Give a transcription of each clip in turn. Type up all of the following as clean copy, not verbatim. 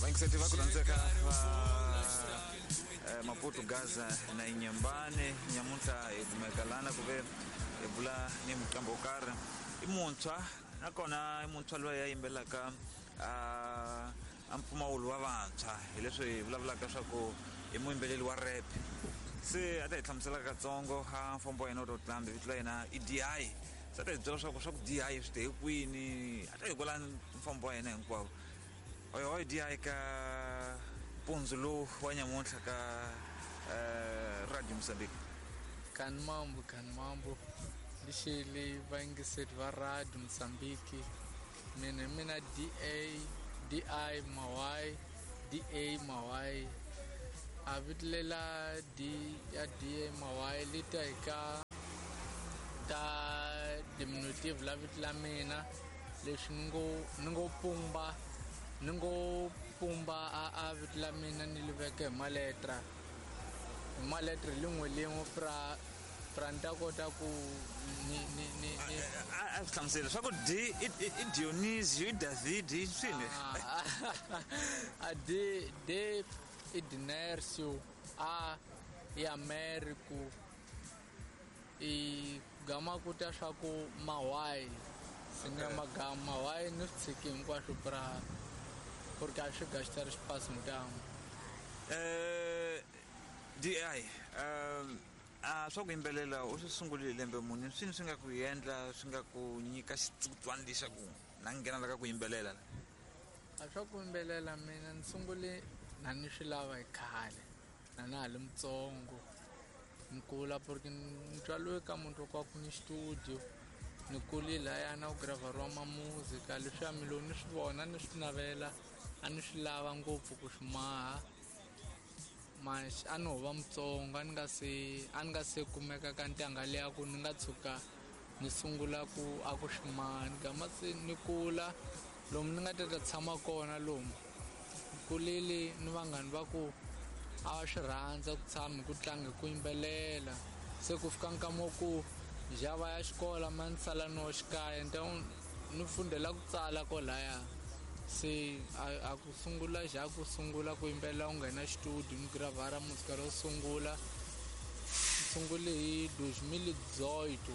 Vayingiseti va ku rhandzeka va Maputo, Gaza na Inyambane, nyamuntlha hi kumeka lana ku ve hi bula ni muqambi wo karhi, i muntshwa, nakona i muntshwa loyi a yimbelelaka a mpfumawulo wa vantshwa, hi leswi hi vulavulaka swa ku i muyimbeleri wa rap. Se a ta hi hlamusela katsongo a mfambo wa yena wa totlambi. Vito la yena i DI. Se a ta hi byela swa ku DI swi te hi kwini, a ta hi kwala mfambo wa yena hinkwawo. Oyohoy DI ka mpundzu lowu wa nyamuntlha ka Radio Mozambique. Kani mambo, kani mambo, lixeli vayingiseri va Radio Mozambique. Mina hi mina DA, DI Mawai, DA Mawai. A vito lela D ya DA Mawai li ta hi ka ta diminutive la vito la mina, leswi ni ngo pumba, ni ngo pumba a vito la mina, ni li veka hi maletra lin'we lin'we pra ni ta kota ku ni A swi hlamusela swa ku D i Dionisio, i David, i swini? A D, D i Dinercio, A i Americo, i gama ku ta swa ku Mawai se ni ya magama Mawai ni swi tshiki hinkwaswo pra porque a swi gastar espaço ntango. DI, a swa ku yimbelela u swi sungulile lembe muni? Swini swi nga ku endla, swi nga ku nyika xitsutswana lexaku na nghena la ka ku yimbelela? A swa ku yimbelela mina ni sungule na ni swi lava hi khale, na na ha li mutsongo, ni kula porque ni tswaliwe ka muti wa ku ni studio, ni kule lahaya na ku graveriwa mamuzika leswiya. Mi lo ni swi vona, ni swi navela, a ni swi lava ngopfu ku swi maha. Mas a ni ho va mutsongo, a ni nga se kumeka ka ntanga liya ku ni nga tshuka ni sungula ku a ku swi maha. Ni gama se ni kula lomu ni nga ta tshama kona, lomu ni kulile ni vanghani va ku a va swi rhandza ku tshama hi ku tlanga, hi ku yimbelela. Se ku fika nkama wa ku java ya xikola ma ni sala no xikaya, ni ta ni fundela ku tsala kolaya. Se a ku sungula ja ku sungula ku yimbelela, u nghena studio, ni gravara muzika ro sungula. Ni sungule hi 2018,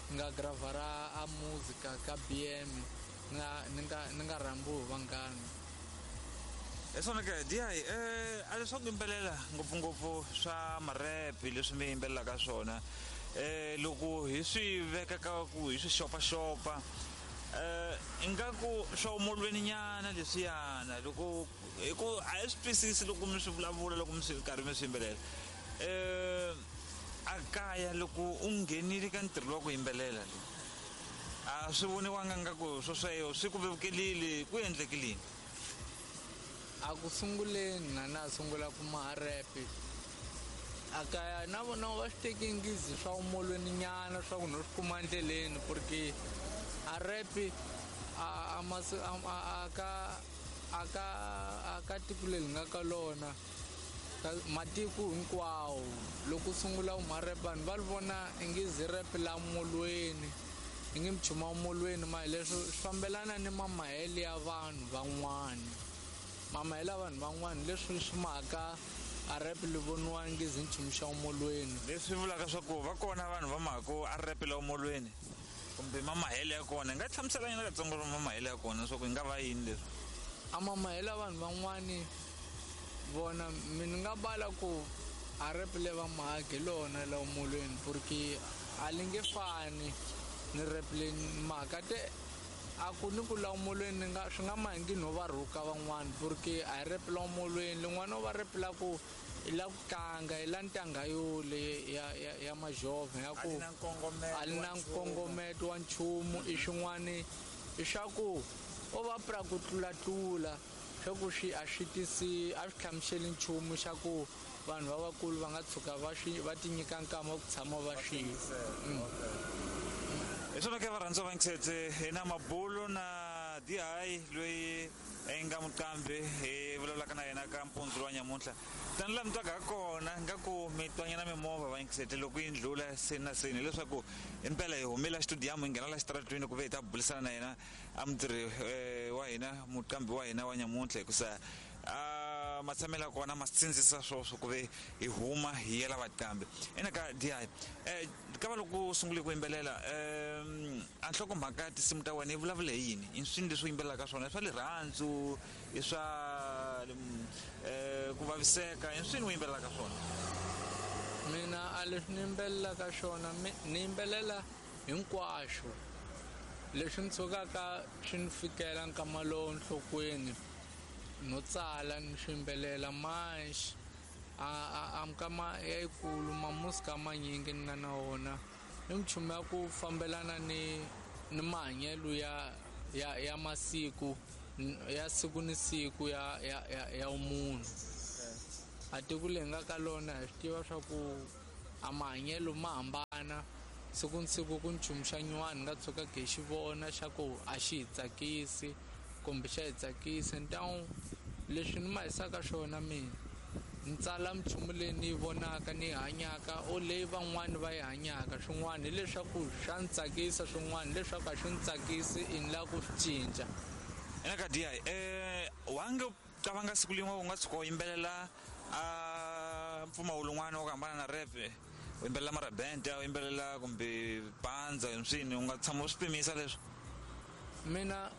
ni nga gravara a muzika ka BM, ni nga rhambiwi hi vanghana. Hi swona ke, DI, a leswa ku yimbelela, ngopfungopfu swa marepi leswi mi yimbelelaka swona, loko hi swi veka ka ku hi swi xopaxopa, ingaku swa umolweni nyana leswiyana, loko hi ku a hi swi twisisi loko mi swi vulavula, loko mi swi karhi mi swi yimbelela. A kaya loko u nghenile ka ntirho wa ku yimbelela, a swi voniwanga nga ku swo sweswo swi ku vevukelile? Ku endlekile yini? A ku sunguleni na na sungula ku maha rap, a kaya na vona va swi teki ngizi swa umolweni nyana, swa ku no swi kuma endleleni, porque a rap a masi a ka a ka a ka tiko leri nga ka lona, ka matiko hinkwawo, loko u sungula u ma rap, vanhu va ri vona ingizi rap la molweni, ingi mchuma molweni. Ma hi leswo swi fambelana ni mamahele ya vanhu van'wani, mamahele ya vanhu van'wani, leswi swi maka a rap li voniwa ngizi nchumu xa molweni. Leswi vulaka swa ku va kona vanhu va mhako a rap la molweni, kumbe mamahele ya kona, hi nga hlamusela nyana katsongo ro mamahele ya kona swa ku yi nga va yini leswi? A mamahele ya vanhu van'wani vona, mi ni nga bala ku a rap le va mahagi lona la molweni, porque a li nge fani ni rap le mhaka te a ku ni ku la molweni. Ni nga swi nga mahingi no va rhuka van'wani, porque a hi rap la molweni lin'wana va rap la ku i la ku tlanga, i la ntanga yole ya majovha ya ku A li na nkongometo a li wa na nchumu. Nkongometo wa nchumu, i xin'wani i swa ku o va pra ku tlulatlula, swa ku swi a swi tisi, a swi hlamuseli nchumu xa ku vanhu va vakulu va nga tshuka va swi va ti nyika nkama wa ku tshama va swi. Hi swona ke, varhandziwa va ngisetse, hi na mabulo na Dihayi loyi i nga muqambi hi vulavulaka na yena ka mpundzu wa nyamuntlha. Tani laha mi twaka ha kona nga ku mi twanyana mimovha va yingisete loko yi ndlula seni na seni, hileswaku impela hi humile xitudiyamu hi nghena la xitaratwini ku ve hi ta bulisana na yena a mutirhi wa hina, muqambi wa hina wa nyamuntlha, hikusa a matshamelo ya kona ma sindzisa swoswo ku ve hi huma hi yela vaqambi. Ina ka Dihayi, ka va loko u sungule ku yimbelela, a nhlokomhaka ya tinsimu ta wena yi vulavula hi yini? I swini leswi u yimbelelaka swona? I swa rirhandzu, i swa ku vaviseka, i swini u yimbelelaka swona? Mina a leswi ni yimbelelaka swona, ni yimbelela hinkwaswo leswi ni tshukaka swi ni fikela nkama lowu nhlokweni, no tsala ni swi yimbelela. Manjhe a mikama yayikulu mamusika manyingi ni nga na wona i minchumu ya ku fambelana ni mahanyelo ya masiku ya siku ni siku ya munhu. A tiko leyi nga ka lona hi swi tiva swa ku a mahanyelo ma hambana siku ni siku, ku nchumu xa nyuwani nga tshuka hi xi vona xa ku a xi hi tsakisi kumbe xa hi tsakisa. Ntawu leswi ni ma hisaka swona, mina ni tsala minchumu leyi ni yi vonaka ni yi hanyaka o leyi van'wani va yi hanyaka. Swin'wana hileswaku swa ni tsakisa, swin'wana hileswaku a swi ni tsakisi, i ni lava ku swi cinca. Ina ka Dihayi, wa nge qavanga siku lin'we u nga tshuka u yimbelela a mpfumawulo wun'wana wa ku hambana na rap, u yimbelela marabente, u yimbelela kumbe pandza, swini u nga tshama u swi pimisa leswo? Mina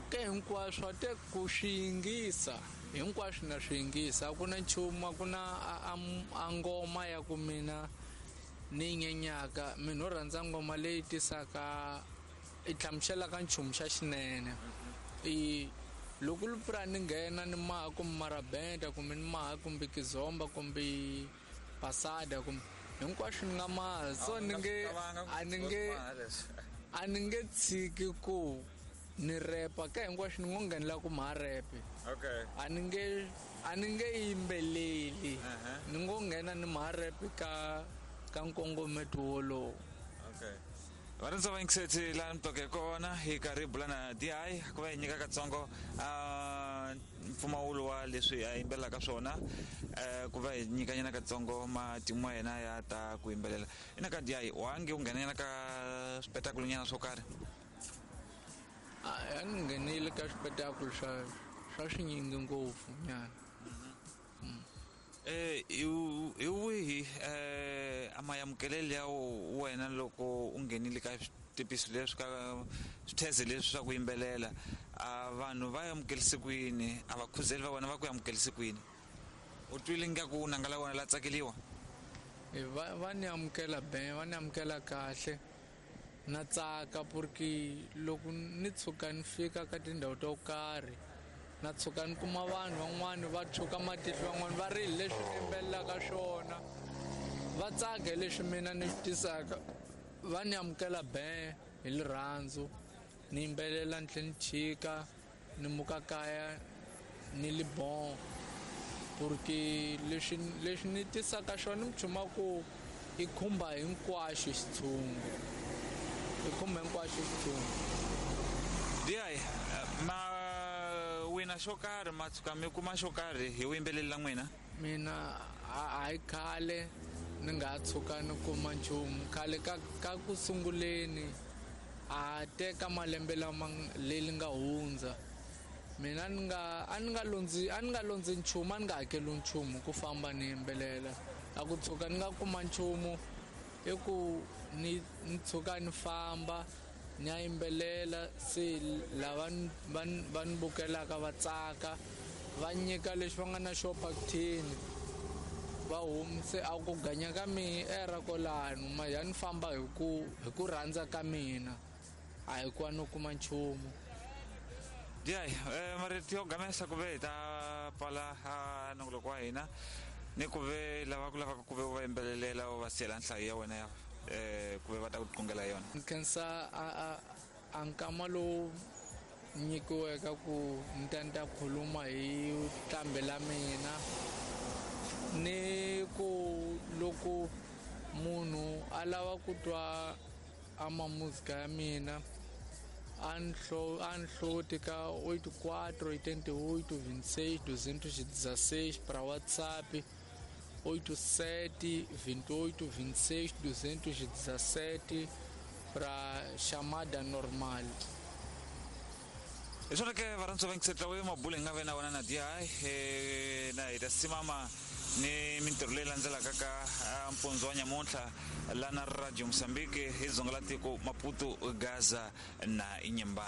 ke hinkwaswo a te ku swi yingisa hinkwaswo na swi yingisa, a ku na nchumu, a ku na a ngoma ya ku mina ni nyenyaka. Mina ho rhandza ngoma leyi tisaka i hlamuselaka nchumu xa xinene. I loko lupura ni nghena ni maha kumbe marabenta kumbe ni maha kumbe kizomba kumbe pasada kumbe hinkwaswo ni nga maha, so ni nge a ni nge tshiki ku ni repa ka hinkwaswo, ni ngo nghenela ku maha repe. A ni nge yimbeleli, ni ngo nghena ni maha repe ka nkongometo wolowo. Okay, varhandza va yingiseti, laha mi twaka hi kona hi karhi hi bula na Dihayi ku va hi nyika katsongo a mpfumawulo wa leswi a yimbelelaka swona, ku va hi nyikanyana katsongo matimu ya yena ya ta ku yimbelela. Ina ka Dihayi, wa nge u nghenanyana ka swipetakulu nyana swo karhi? A ni nghenile ka swipetakulu swa swinyingi ngopfu nyana. Hi wihi a mayamukelelo ya wena loko u nghenile ka switepisi leswi, ka switheze leswi swa ku yimbelela? A vanhu va amukelise ku yini? A vakhuzeli va wena va ku amukelise ku yini? U twile nga ku nanga la wena la tsakeliwa? Va ni amukela be, va ni amukela kahle, na tsaka porque loko ni tshuka ni fika ka tindhawu to karhi, na tshuka ni kuma vanhu van'wani va tshuka matihlo, van'wani va ri leswi ni yimbelelaka swona, va tsaka hi leswi mina ni swi tisaka. Va ni amukela be hi rirhandzu, ni yimbelela ni tlhela ni chika ni muka kaya ni li bon, porque leswi ni tisaka xona ni chuma ku i khumba hinkwaxo xitshungu, i khumba hinkwaxo xitshungu. Dihayi, ma wina xo karhi, ma tshuka mi kuma xo karhi hi vuyimbeleri la n'wina? Mina a hi khale ni nga tshuka ni kuma nchumu. Khale ka ku sunguleni, a teka malembe lama leri nga hundza, mina ni nga a ni nga londzi a ni nga londzi nchumu, a ni nga hakeli nchumu ku famba ni yimbelela. A ku tshuka ni nga kuma nchumu i ku ni tshuka ni famba ni ya yimbelela, se lava va ni bukelaka va tsaka, va nyika lexi va nga na xo phakithini, va humise a ku ganya ka mina era kwalano. Ma ya ni famba hi ku rhandza ka mina, a hi ku a no kuma nchumu. Dihayi, marito yo gamesa ku ve hi ta pfala a nongoloko wa hina, ni ku ve lava ku lavaka ku ve u va yimbelelela, u va siyela nhlayo ya wena ya ku ve va ta ku qungela yona. Ni khensa a nkama lowu nyikiweke ku ni ta ni ta khuluma hi nqambi la mina, ni ku loko munhu a lava ku twa a mamuzika ya mina A ni hloti ka 84 88 26 216 para WhatsApp 87 28 26 217 para chamada normal. Hi swona ke varhandzi va yingisetla we mabulo hi nga ve na wona na di na hi ta simama ni mintirho leyi landzelaka ka mpundzu wa nyamuntlha lana Radio Mozambique hi dzonga la tiko Maputo, Gaza na Inhambane.